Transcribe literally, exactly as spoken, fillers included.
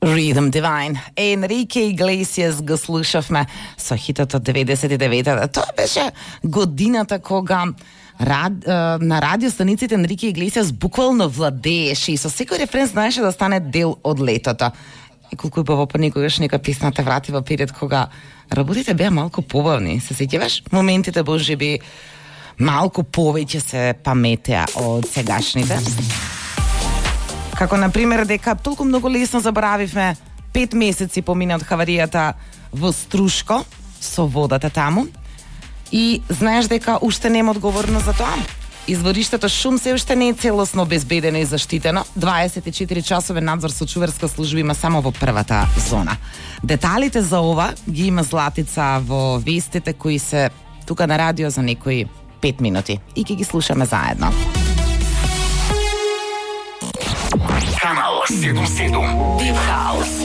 Rhythm Divine. Enrique Iglesias го слушавме со хитот од деветдесет и деветата. Тоа беше годината кога рад, на радиостаниците Енрике Иглесиас буквално владееше и со секој рефрен знаеше да стане дел од летото. И колку е баво понекогаш нека песна те врати во период кога работите беа малку побавни. Се сеќаваш? Моментите можеби малку повеќе се паметеа од сегашните. Како, например, дека толку многу лесно заборавивме пет месеци помина од хаваријата во Струшко со водата таму и знаеш дека уште нема одговорност за тоа. Извориштето шум се уште не е целосно обезбедено и заштитено. дваесет и четири часовен надзор со чуварска служба има само во првата зона. Деталите за ова ги има Златица во вестите кои се тука на радио за некои пет минути и ќе ги слушаме заедно. Канал седумдесет и седум Deep House.